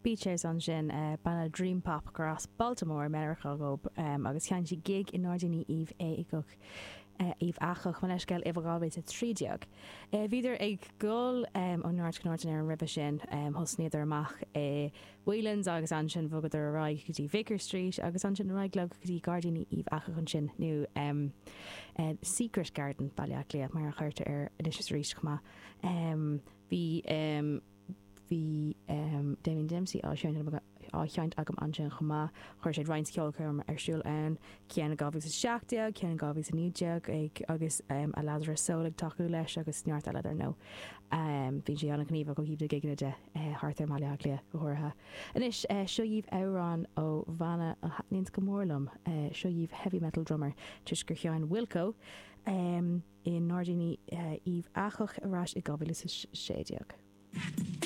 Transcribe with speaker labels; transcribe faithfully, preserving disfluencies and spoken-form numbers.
Speaker 1: Beaches ansin banna Dream Pop gur as Baltimore Meiriceá dóibh agus sheinn siad gig i nGairdíní Uíbh Eachach Uíbh Eachach mo leithscéal i dhá mhíle a trí déag. Bhíodar ag dul ó neart go neart in Éirinn roimhe sin, thosnaíodar amach i Whelan's agus ansin bhogadar ar aghaidh go dtí Vicar Street agus ansin ar aghaidh leo go dtí Gairdíní Uíbh Eachach ansin nó Secret Garden Baile Átha Cliath mar a chuirtear air anois is arís chomh maith. Bhí Bhí Damien Dempsey á á sheinnt agam ansin chomh maith. Chuir sé roinnt ceolchoirm ar siúl ann, ceann i dhá mhíle is a seacht déag, ceann i dhá mhíle is a naoi déag ag agus a Lazarus Soul ag tacú leis agus neart eile dar ndóigh. Bíonn sé an-ghníomhach ó thaobh na gigeanna de thart ar Bhaile Átha Cliath go háirithe. Anois, seo dhaoibh amhrán ó bhanna a thaitníonns go mór liom. Seo dhaoibh Heavy Metal Drummer toisc gur sheinn Wilco i nGairdíní Uíbh Eachach ar ais i dhá mhíle is a sé déag.